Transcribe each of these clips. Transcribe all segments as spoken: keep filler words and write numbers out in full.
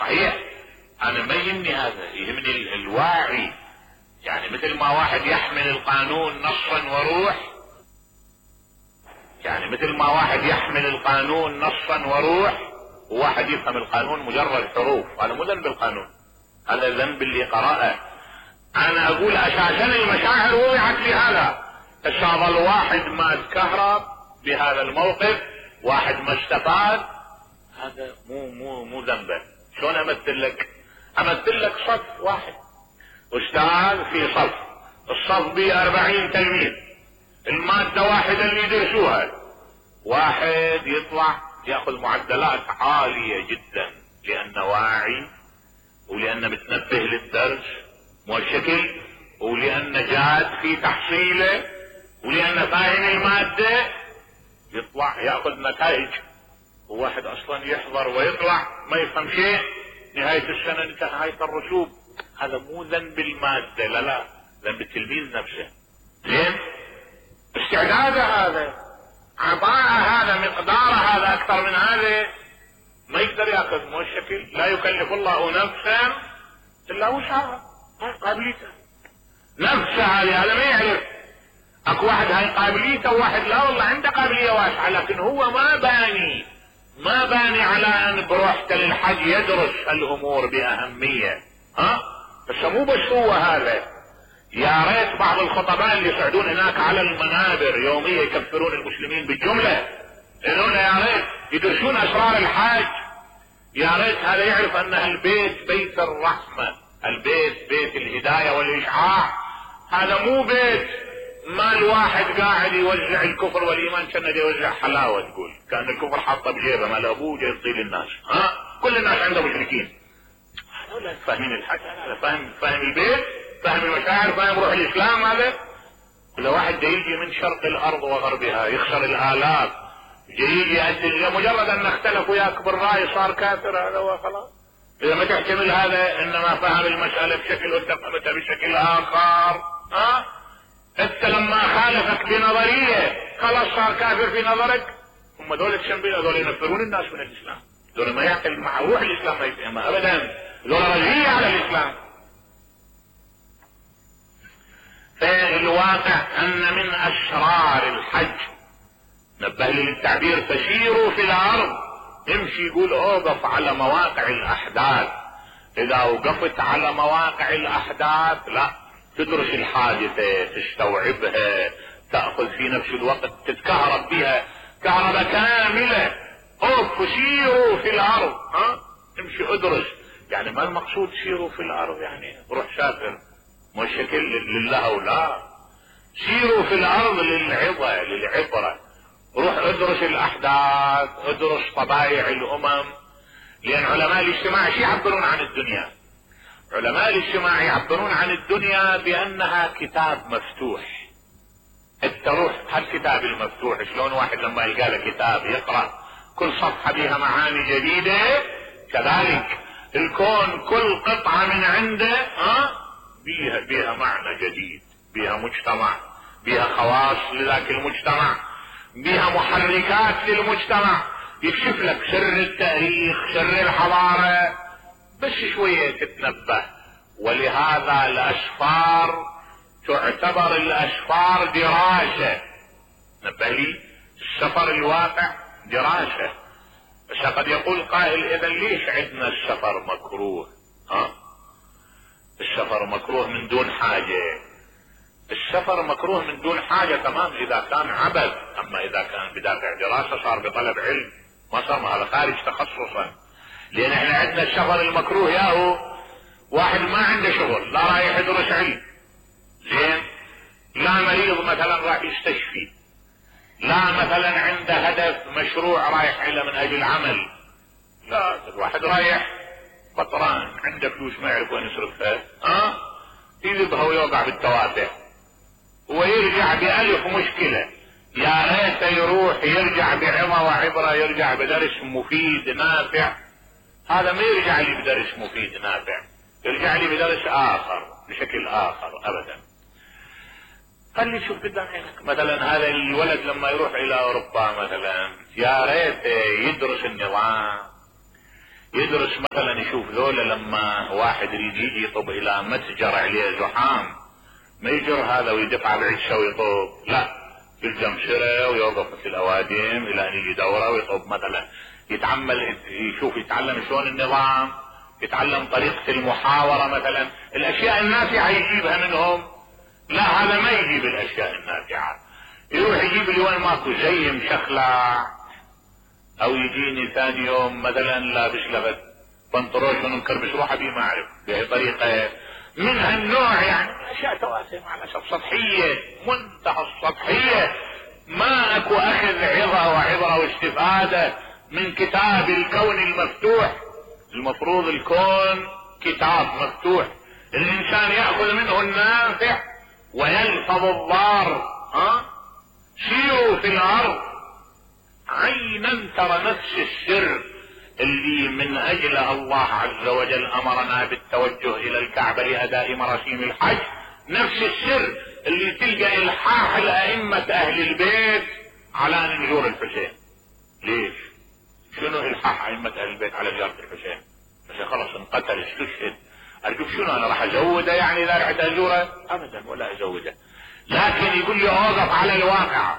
صحيح انا ما يهمني هذا، يهمني الواعي. يعني مثل ما واحد يحمل القانون نصا وروح، يعني مثل ما واحد يحمل القانون نصا وروح، وواحد يفهم القانون مجرد حروف. هذا مو ذنب القانون، هذا ذنب اللي قرأه. انا اقول اساسا المشاعر وضعت لهذا. هسه ظل واحد ما تكهرب بهذا الموقف، واحد ما استفاد، هذا مو مو مو ذنبه. شلون امثل لك؟ امثل لك صف واحد، استاذ في صف، الصف به أربعين تلميذ، المادة واحدة اللي يدرسوها، واحد يطلع ياخذ معدلات عالية جدا لانه واعي، ولانه متنبه للدرس والشكل، ولانه جاد في تحصيله، ولانه فاهم المادة، يطلع ياخذ نتائج. وواحد اصلا يحضر ويطلع ما يفهم شيء، نهاية السنة انتهى نهاية الرسوب. هذا مو ذنب المادة، لا لا، ذنب التلميذ نفسه. زين؟ استعداده هذا، عطاء هذا، مقدار هذا، اكثر من هذا ما يقدر ياخذ. مو الشكل، لا يكلف الله نفسا الا وسعها، قابليته نفسه هذه. هذا ما يعرف. اكو واحد هاي قابليته، وواحد لا والله عنده قابلية واسعة، لكن هو ما باني ما باني على ان بروحته للحج يدرس الامور باهمية. ها بس مو بس هو هذا. يا ريت بعض الخطباء اللي يصعدون هناك على المنابر يوميا يكفرون المسلمين بالجملة، يقولون يا ريت يدرسون اسرار الحج. يا ريت هذا يعرف ان البيت بيت الرحمة، البيت بيت الهداية والاشعاع. هذا مو بيت ما الواحد قاعد يوزع الكفر والايمان كانه يوزع حلاوة، تقول كان الكفر حاطه بجيبه مال ابوه جاي يطيل الناس. ها كل الناس عنده مشركين. هذول فاهمين الحج، هذا فاهم فاهم البيت، فاهم المشاعر، فاهم روح الاسلام. هذا اذا واحد يجي من شرق الارض وغربها يخسر الالاف، يجي يأدي مجرد ان اختلف وياك بالراي صار كافر، هذا هو خلاص. اذا ما تحتمل هذا انما فهم المسألة بشكل وتفهمتها بشكل اخر. ها انت لما خالفك بنظرية خلاص صار كافر في نظرك. هم دول الشنبيل، دول ينفرون الناس من الاسلام، دول ما يعقل مع روح الاسلام، ما يفهمها ابدا، دول رجعية على الاسلام. فالواقع ان من اسرار الحج، نبه لي للتعبير، فسيروا في الارض، امشي، يقول اوقف على مواقع الاحداث. اذا وقفت على مواقع الاحداث لا تدرس الحادثة، تستوعبها، تأخذ في نفس الوقت تتكهرب بها كهرباء كاملة. اوف سيروا في الارض، ها امشي ادرس. يعني ما المقصود سيروا في الارض يعني روح سافر، مو شكل لله ولا. سيروا في الارض للعظة للعبرة، روح ادرس الاحداث، ادرس طبائع الامم. لان علماء الاجتماع شو يعبرون عن الدنيا؟ علماء الاجتماع يعبرون عن الدنيا بانها كتاب مفتوح. انت روح هالكتاب المفتوح، شلون واحد لما يلقى له كتاب يقرأ كل صفحة بها معاني جديدة، كذلك الكون كل قطعة من عنده ها بيها بيها معنى جديد، بيها مجتمع، بيها خواص لذاك المجتمع، بيها محركات للمجتمع، يكشف لك سر التاريخ، سر الحضارة، بس شوية تتنبه. ولهذا الاسفار تعتبر الاسفار دراسة. نبه لي، السفر الواقع دراسة. بس قد يقول قائل اذا ليش عندنا السفر مكروه؟ ها السفر مكروه من دون حاجة. السفر مكروه من دون حاجة تمام اذا كان عبث، اما اذا كان بدافع دراسة صار بطلب علم، ما صار هذا خارج تخصصا. لان احنا عندنا السفر المكروه ياهو واحد ما عنده شغل، لا رايح يدرس علم، زين، لا مريض مثلا راح يستشفي، لا مثلا عنده هدف مشروع رايح له من اجل عمل، لا الواحد رايح بطران عنده فلوس ما يعرف وين يصرفها، ها أه؟ يذبها ويوقع بالتوافه ويرجع بألف مشكلة. يا ريت يروح يرجع بعظة وعبرة، يرجع بدرس مفيد نافع. هذا ما يرجع لي بدرس مفيد نافع، يرجع لي بدرس اخر بشكل اخر ابدا. خلي تشوف قدام عينك مثلا هذا الولد لما يروح الى اوروبا مثلا، يا ريت يدرس النظام، يدرس مثلا يشوف ذولا لما واحد يريد يجي يطب الى متجر عليه زحام ما يجر هذا ويدفع بعشه ويطب، لا يلزم شره ويوقف في الاوادم الى ان يجي دوره ويطب مثلا. يتعمل يشوف يتعلم شلون النظام، يتعلم طريقة المحاورة مثلا. الاشياء النافعة يجيبها منهم، لا هذا ما يجيب الاشياء النافعة، يروح يجيب لي وين ماكو زي مشخلع، او يجيني ثاني يوم مثلا لابس لغت بنطروش ومكربس روحه بيه ما اعرف بهي طريقة من هالنوع. يعني اشياء تواسع مع الاسف سطحية منتهى السطحية، ما اكو اخذ عظة وعبرة واستفادة من كتاب الكون المفتوح. المفروض الكون كتاب مفتوح الانسان يأخذ منه النافع ويلفظ الضار. ها سيروا في الارض عينا ترى نفس السر اللي من اجله الله عز وجل امرنا بالتوجه الى الكعبة لاداء مراسيم الحج، نفس السر اللي تلقى الحاح الائمة اهل البيت على نزور الحسين. ليش؟ شنو الحاح ائمة اهل البيت على زيارة الحسين؟ بس خلص انقتل استشهد، ارجوك شنو انا راح ازوده يعني اذا رحت ازوره؟ ابدا ولا ازوده، لكن يقول لي اوقف على الواقع،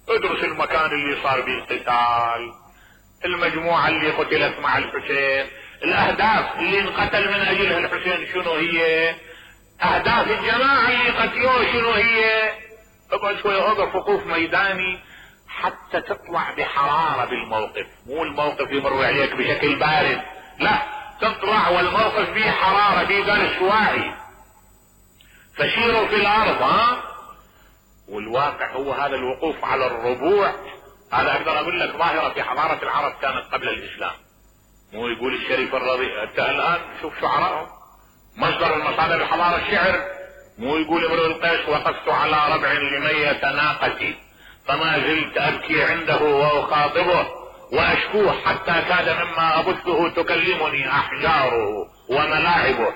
ادرس المكان اللي صار به القتال، المجموعة اللي قتلت مع الحسين، الاهداف اللي انقتل من اجلها الحسين شنو هي، اهداف الجماعة اللي قتلوه شنو هي. اقعد شوية اوقف وقوف ميداني حتى تطلع بحرارة بالموقف، مو الموقف يمر عليك بشكل بارد، لا تطلع والموقف فيه حرارة فيه درس واعي. فسيروا في الارض. ها والواقع هو هذا الوقوف على الربوع. هذا اقدر اقول لك ظاهرة في حضارة العرب كانت قبل الاسلام. مو يقول الشريف الرضي انت الان شوف شعراءهم مصدر المصادر الحضارة الشعر، مو يقول امرؤ القيس وقفت على ربع لمية ناقتي فما زلت ابكي عنده واخاطبه واشكوه حتى كاد مما ابثه تكلمني احجاره وملاعبه.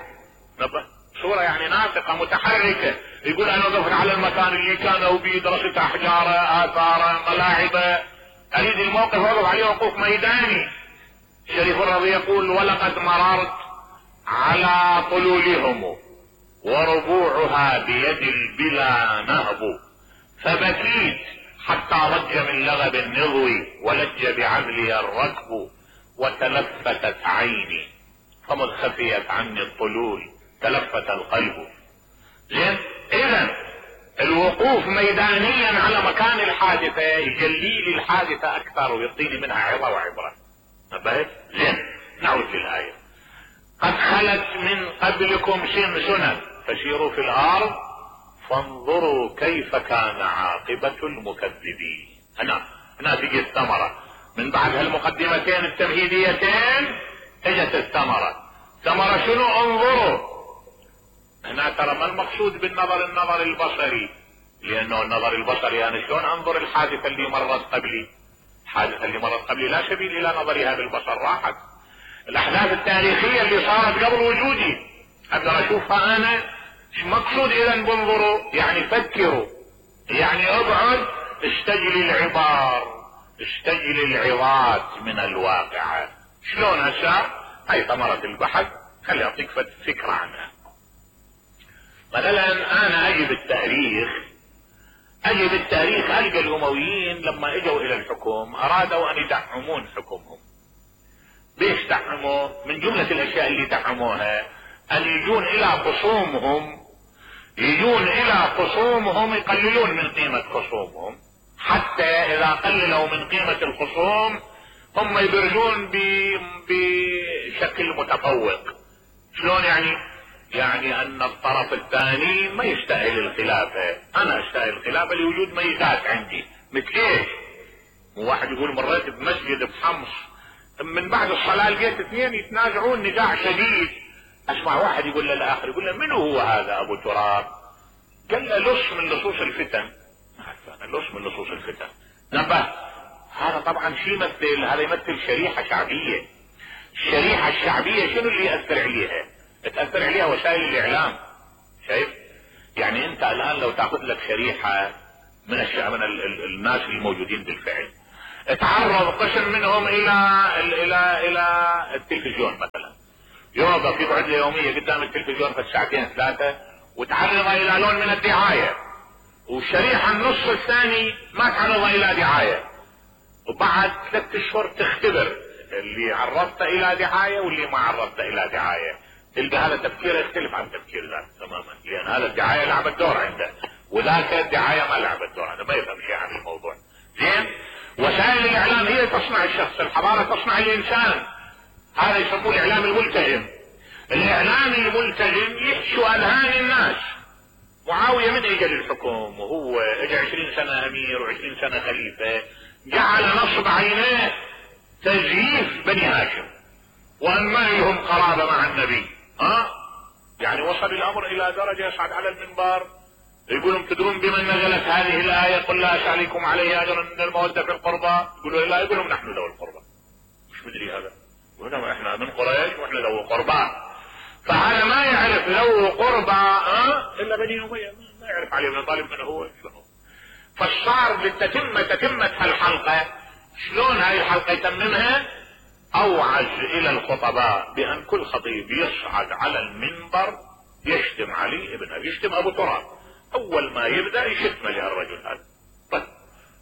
صورة يعني ناطقة متحركة، يقول انا وقفت على المكان اللي كانوا بيه درست احجاره اثاره ملاعبه، اريد الموقف وقف عليه وقوف ميداني. شريف الرضي يقول ولقد مررت على طلولهم وربوعها بيد البلا نهب فبكيت حتى ضج من لغب النضوي ولج بعزلي الركب وتلفتت عيني فمذ خفيت عني الطلول تلفت القلب. زين، اذا الوقوف ميدانيا على مكان الحادثة يجلي لي الحادثة اكثر ويعطيني منها عظة وعبرة. نبهت؟ زين، نعود للآية. قد خلت من قبلكم سنن فسيروا في الارض فانظروا كيف كان عاقبة المكذبين. هنا هنا تجي الثمرة من بعد هالمقدمتين التمهيديتين، اجت الثمرة. ثمرة شنو؟ انظروا. هنا ترى ما المقصود بالنظر النظر البصري، لانه النظر البصري انا شلون انظر الحادثة اللي مرت قبلي؟ الحادثة اللي مرت قبلي لا سبيل الى نظرها بالبصر، راحت. الاحداث التاريخية اللي صارت قبل وجودي اقدر اشوفها انا. ايش مقصود اذا بانظروا؟ يعني فكروا، يعني اقعد استجلي العبار، استجلي العظات من الواقعة. شلون هسه؟ هاي ثمرة البحث، خلي اعطيك فكرة عنها. مثلا انا اجي بالتاريخ اجي بالتاريخ القى الامويين لما اجوا الى الحكم ارادوا ان يدعمون حكمهم. ليش دعموا؟ من جملة الاشياء اللي دعموها ان يجون الى خصومهم يجون الى خصومهم يقللون من قيمة خصومهم، حتى اذا قللوا من قيمة الخصوم هم يبرزون بشكل متفوق. شلون يعني؟ يعني ان الطرف الثاني ما يستاهل الخلافة، انا استاهل الخلافة لوجود ميزات عندي. مثل ايش؟ واحد يقول مريت بمسجد بحمص من بعد الصلاة لقيت اثنين يتنازعون نزاع شديد، اسمع واحد يقول للاخر يقول له من هو هذا ابو تراب؟ قال له لص من لصوص الفتن. لص من لصوص الفتن. نبه، هذا طبعا شيء يمثل، هذا يمثل شريحة شعبية. الشريحة الشعبية شنو اللي يأثر عليها؟ تأثر عليها وسائل الاعلام. شايف؟ يعني انت الان لو تاخذ لك شريحة من الشعب من ال ال الناس الموجودين بالفعل، تعرض قسم منهم الى الى الى التلفزيون مثلا، يوقف يقعد له يوميا قدام التلفزيون في ساعتين ثلاثة وتعرض الى لون من الدعاية، والشريحة النص الثاني ما تعرض الى دعاية، وبعد ثلاث اشهر تختبر اللي عرضت الى دعاية واللي ما عرضت الى دعاية، تلقى هذا تفكير يختلف عن تفكير ذاك تماما، لان هذا الدعاية لعبت دور عنده وذاك الدعاية ما لعبت دور، هذا ما يفهم شيء عن الموضوع. زين، وسائل الاعلام هي تصنع الشخص، الحضارة تصنع الانسان، هذا يسموه الاعلام الملتزم. الاعلام الملتزم يحشو اذهان الناس. معاوية من اجى للحكم وهو اجى عشرين سنة امير وعشرين سنة خليفة، جعل نصب عينيه تزييف بني هاشم وان ما لهم قرابة مع النبي. ها يعني وصل الامر الى درجة يصعد على المنبر يقولون تدرون بمن نزلت هذه الآية قل لا أسألكم عليه أجرا من المودة في القربى، يقولوا لا، يقولون نحن ذوي القربى. مش مدري هذا، يقولون احنا من قريش واحنا ذوي قربى، فهذا ما يعرف ذوي قربى اه الا بني أمية، ما يعرف علي بن طالب من هو شنو. فالصار للتتمة تتمة هالحلقة، شلون هاي الحلقة يتممها؟ اوعز الى الخطباء بان كل خطيب يصعد على المنبر يشتم علي ابن ابي، يشتم ابو تراب، اول ما يبدأ يشتم لهالرجل هذا. طيب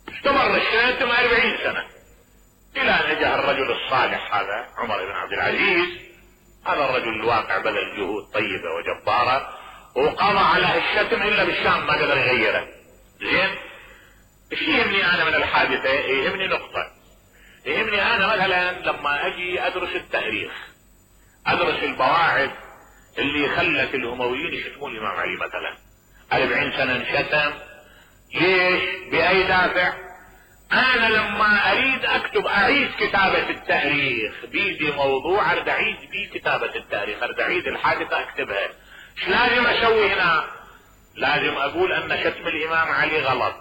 استمر الشتم اربعين سنة الى ان جاء الرجل الصالح هذا عمر بن عبد العزيز. هذا الرجل الواقع بذل جهود طيبة وجبارة وقضى على الشتم الا بالشام ما قدر يغيره. زين، ايش يهمني انا من الحادثة؟ يهمني نقطة، يهمني انا مثلا لما اجي ادرس التاريخ، ادرس البواعث اللي خلت الامويين يشتمون الامام علي مثلا أربعين سنة انشتم، ليش؟ بأي دافع؟ أنا لما أريد أكتب أعيد كتابة التاريخ بيدي موضوع أريد أعيد بيه كتابة التاريخ، أريد أعيد الحادثة أكتبها، إيش لازم أسوي هنا؟ لازم أقول أن شتم الإمام علي غلط،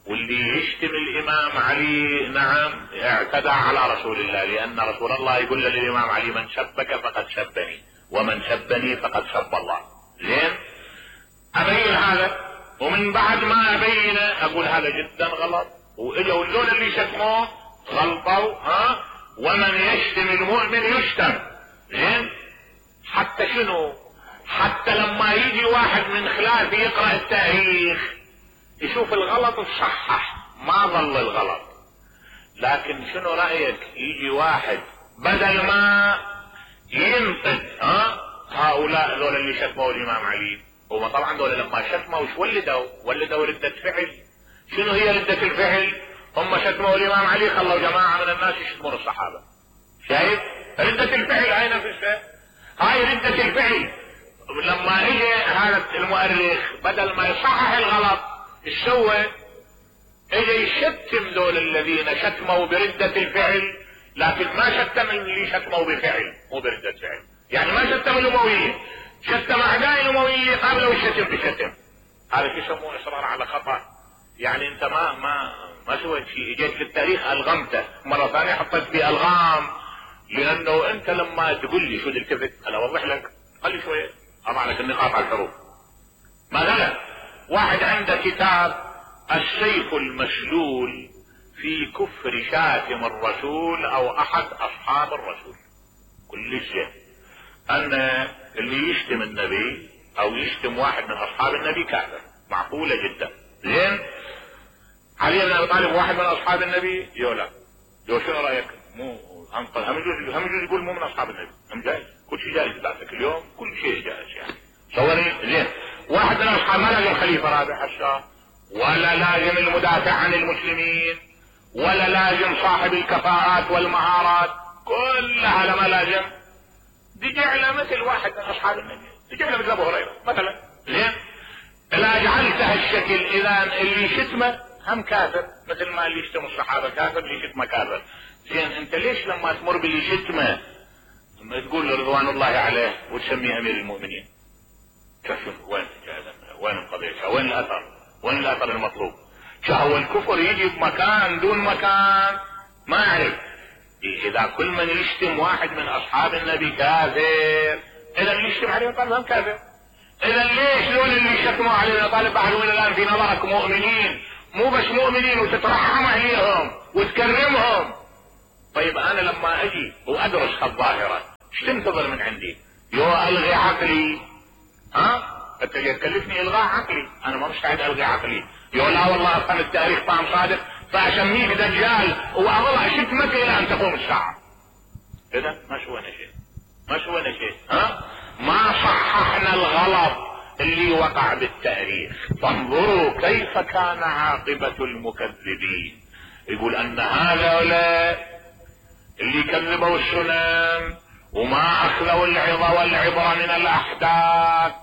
واللي يشتم الإمام علي نعم اعتدى على رسول الله، لأن رسول الله يقول للإمام علي من سبك فقد سبني ومن سبني فقد سب الله. زين، ابين هذا، ومن بعد ما ابينه اقول هذا جدا غلط، واجوا اللون اللي شتموه غلطوا، ها ومن يشتم المؤمن يشتم. زين، حتى شنو؟ حتى لما يجي واحد من خلافي يقرأ التاريخ يشوف الغلط ويصحح، ما ظل الغلط. لكن شنو رأيك يجي واحد بدل ما ينقد ها هؤلاء ذول اللي شتموا الامام علي، هما طبعا دول لما شتموا وش ولدوا؟ ولدوا ردة فعل. شنو هي ردة الفعل؟ هم شتموا الامام علي خلوا جماعة من الناس يشتمون الصحابة. شايف؟ ردة الفعل هاي نفسها، هاي ردة الفعل. لما اجى هذا المؤرخ بدل ما يصحح الغلط ايش سوى؟ اجى يشتم دول الذين شتموا بردة الفعل، لكن ما شتم اللي شتموا بفعل مو بردة فعل. يعني ما شتم الامويين، شتم اعداء الامويين قبلوا الشتم بشتم. هذا شو يسموه اصرار على خطأ. يعني انت ما ما ما سويت شيء، اجيت في التاريخ الغمته، مرة ثانية حطيت فيه الغام، لانه انت لما تقول لي شو التفت انا اوضح لك، خلي شوية اضع لك النقاط على الحروف. مثلا واحد عنده كتاب السيف المسلول في كفر شاتم الرسول او احد اصحاب الرسول. كل شيء ان اللي يشتم النبي او يشتم واحد من اصحاب النبي كافر، معقولة جدا. زين، علي بن ابي طالب واحد من اصحاب النبي؟ يولا يو شنو رايك؟ مو انقل هم يجوز هم يجوز يقول مو من اصحاب النبي، هم جايز، كل شيء جايز بعدك اليوم، كل شيء جايز يعني. صوري زين، واحد من اصحاب ما لازم خليفة رابع حشا، ولا لازم المدافع عن المسلمين، ولا لازم صاحب الكفاءات والمهارات، كلها لما لازم. دي جعله مثل واحد من اصحاب النبي، دي جعله مثل ابو هريرة مثلا. زين، اذا جعلتها الشكل اذا اللي يشتمه هم كافر، مثل ما اللي يشتم الصحابة كافر اللي يشتمه كافر. زين، انت ليش لما تمر باللي يشتمه تقول له رضوان الله عليه وتسميه امير المؤمنين؟ شوف وين وين القضية، وين الاثر، وين الاثر المطلوب؟ هو الكفر يجي بمكان دون مكان ما اعرف. اذا كل من يشتم واحد من اصحاب النبي كافر، اذا اللي يشتم علي بن طالب هم كافر. اذا ليش دول اللي شتموا علي بن طالب بعد الان في نظرك مؤمنين مو بس مؤمنين وتترحم عليهم وتكرمهم. طيب انا لما اجي وادرس هالظاهرة ايش تنتظر من عندي؟ يو الغي عقلي؟ ها انت تكلفني الغاء عقلي؟ انا ما مستعد الغي عقلي. يو لا والله كان التاريخ طعم صادق فاسميك دجال واظل اشد مكة الى ان تقوم الساعة. كذا ما سوينا شيء، ما سوينا شيء. ها ما صححنا الغلط اللي وقع بالتاريخ. فانظروا كيف كان عاقبة المكذبين. يقول ان هؤلاء اللي كذبوا السنن وما اخذوا العظة والعبرة من الاحداث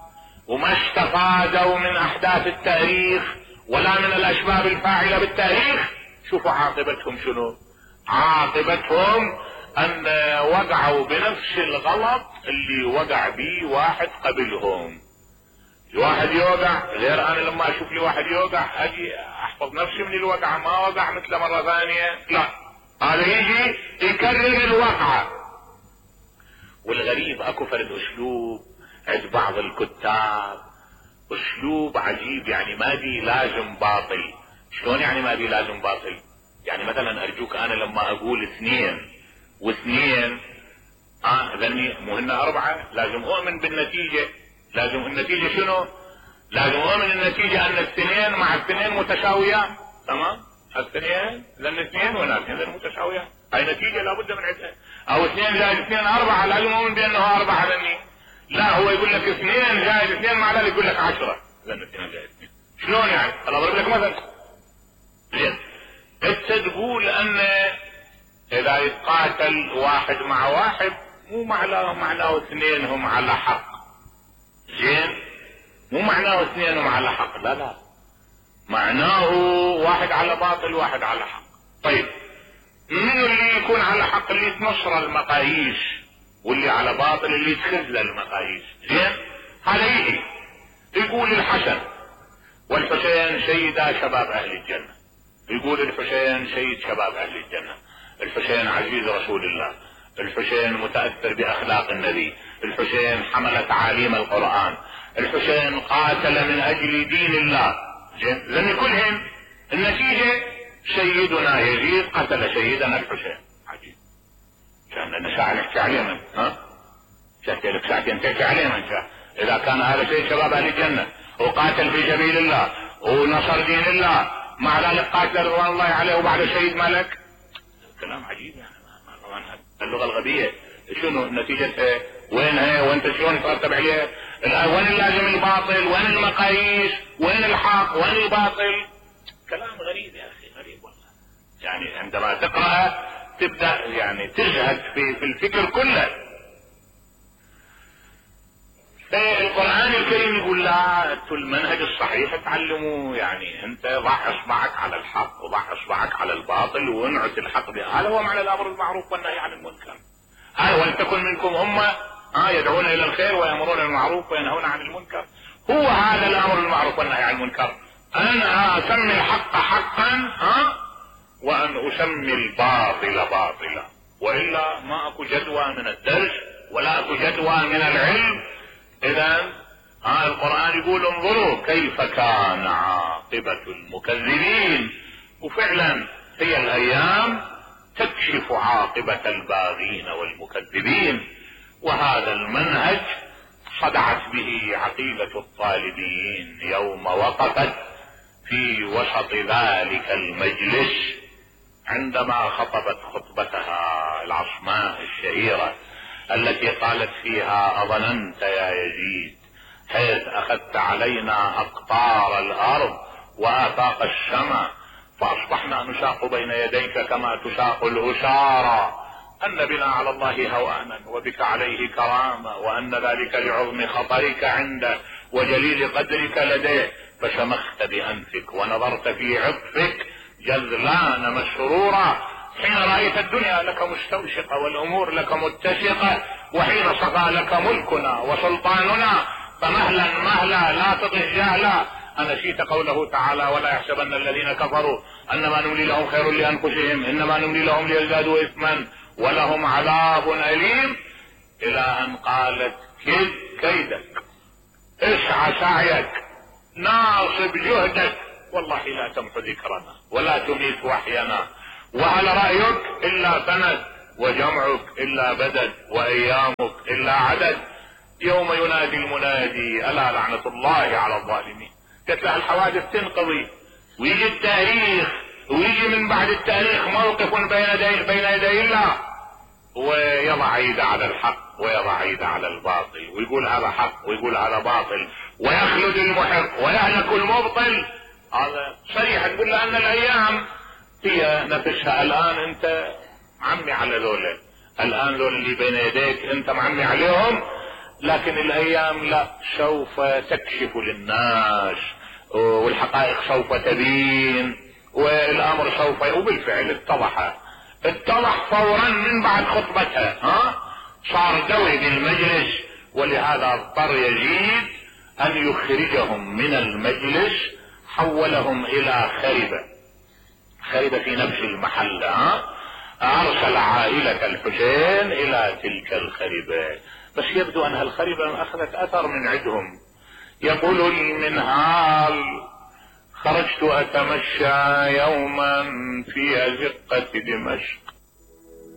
وما استفادوا من احداث التاريخ ولا من الاسباب الفاعلة بالتاريخ، شوفوا عاقبتهم شنو؟ عاقبتهم ان وقعوا بنفس الغلط اللي وقع به واحد قبلهم. واحد يوقع غير انا لما اشوف لي واحد يوقع اجي احفظ نفسي من الوقعة، ما وقع مثل مرة ثانية، لا هذا يجي يكرر الوقعة. والغريب اكو فرد اسلوب عند بعض الكتاب، اسلوب عجيب، يعني ما بي لازم باطل. شلون يعني ما بي لازم باطل؟ يعني مثلا ارجوك انا لما اقول اثنين واثنين اه ذني مو هن اربعة، لازم اؤمن بالنتيجة. لازم النتيجة شنو؟ لازم اؤمن النتيجة ان الاثنين مع الاثنين متساويان. تمام؟ الاثنين لان اثنين ولا اثنين متساويان، هاي نتيجة لابد من عندها. او اثنين زائد اثنين اربعة، لازم اؤمن بانه اربعة ذني. لا هو يقول لك اثنين زائد اثنين مع ذلك يقول لك عشرة، لان اثنين زائد اثنين. شلون يعني؟ انا اضرب لك مثل. زين انت تقول ان اذا يتقاتل واحد مع واحد مو معناه معناه اثنين هم على حق. زين مو معناه اثنين هم على حق، لا لا، معناه واحد على باطل واحد على حق. طيب من اللي يكون على حق؟ اللي يتنصر المقاييس، واللي على باطل اللي يتخذ المقاييس. زين هذا يجي يقول الحسن والحسين سيدا شباب اهل الجنة، يقول الحسين سيد شباب اهل الجنة، الحسين عزيز رسول الله، الحسين متأثر باخلاق النبي، الحسين حمل تعاليم القرآن، الحسين قاتل من اجل دين الله. زين لان كلهم النتيجة سيدنا يزيد قتل سيدنا الحسين. عجيب، كان لنا ساعة نحكي عليه من ها شكل لك ساعتين تحكي عليه من شاء. اذا كان هذا سيد شباب اهل الجنة وقاتل في سبيل الله ونصر دين الله، مع ذلك قاتل رضوان الله عليه وبعد شهيد ملك. كلام عجيب يعني. اللغة الغبية شنو نتيجتها؟ وين هي؟ وانت شلون ترتب عليها؟ وين اللازم الباطل؟ وين المقاييس؟ وين الحق؟ وين الباطل؟ كلام غريب يا اخي، غريب والله. يعني عندما تقرأ تبدأ يعني تزهد في, في الفكر كله. القرآن الكريم يقول لا، انتوا المنهج الصحيح تعلموا، يعني انت ضع اصبعك على الحق وضع اصبعك على الباطل وانعت الحق به. هذا هو معنى الامر بالمعروف والنهي عن المنكر. هذا ولتكن منكم امة ها يدعون الى الخير ويأمرون بالمعروف وينهون عن المنكر. هو هذا الامر بالمعروف والنهي عن المنكر، ان اسمي الحق حقا ها وان اسمي الباطل باطلا، والا ما اكو جدوى من الدرس ولا اكو جدوى من العلم. اذا ها القرآن يقول انظروا كيف كان عاقبة المكذبين. وفعلا هي الايام تكشف عاقبة الباغين والمكذبين، وهذا المنهج صدعت به عقيدة الطالبيين يوم وقفت في وسط ذلك المجلس عندما خطبت خطبتها العصماء الشهيرة التي قالت فيها اظننت يا يزيد حيث اخذت علينا اقطار الارض وافاق السماء فاصبحنا نساق بين يديك كما تساق الاسارى، ان بنا على الله هوانا وبك عليه كرامة، وان ذلك لعظم خطرك عنده وجليل قدرك لديه، فشمخت بانفك ونظرت في عطفك جذلان مسرورا حين رأيت الدنيا لك مستوشقة والامور لك متسقة، وحين صفى لك ملكنا وسلطاننا فمهلا مهلا لا تطغ جهلا. أنسيت قوله تعالى ولا يحسبن الذين كفروا انما نملي لهم خير لانفسهم انما نملي لهم ليزدادوا اثما ولهم عذاب اليم، الى ان قالت كيد كيدك، اسعى سعيك، ناصب جهدك، والله لا تمحو ذكرنا ولا تميت وحينا، وهل رأيك إلا سند، وجمعك إلا بدد، وأيامك إلا عدد. يوم ينادي المنادي ألا لعنة الله على الظالمين. قلت له الحوادث تنقضي ويجي التاريخ، ويجي من بعد التاريخ موقف بين يدي بين يدي الله، ويضع يده على الحق ويضع يده على الباطل، ويقول هذا حق ويقول هذا باطل، ويخلد المحق ويهلك المبطل. هذا صريح. تقول له ان الايام هي نفسها. الان انت معمي على ذولا، الان ذولا اللي بين يديك انت معمي عليهم، لكن الايام لا، سوف تكشف للناس والحقائق سوف تبين والامر سوف، وبالفعل اتضح اتضح فورا من بعد خطبتها. ها صار دوي بالمجلس، ولهذا اضطر يزيد ان يخرجهم من المجلس، حولهم الى خربة خربة في نفس المحل. ها ارسل عائلة الحسين الى تلك الخربة، بس يبدو ان الخربة اخذت اثر من عندهم. يقول المنهال خرجت اتمشى يوما في ازقة دمشق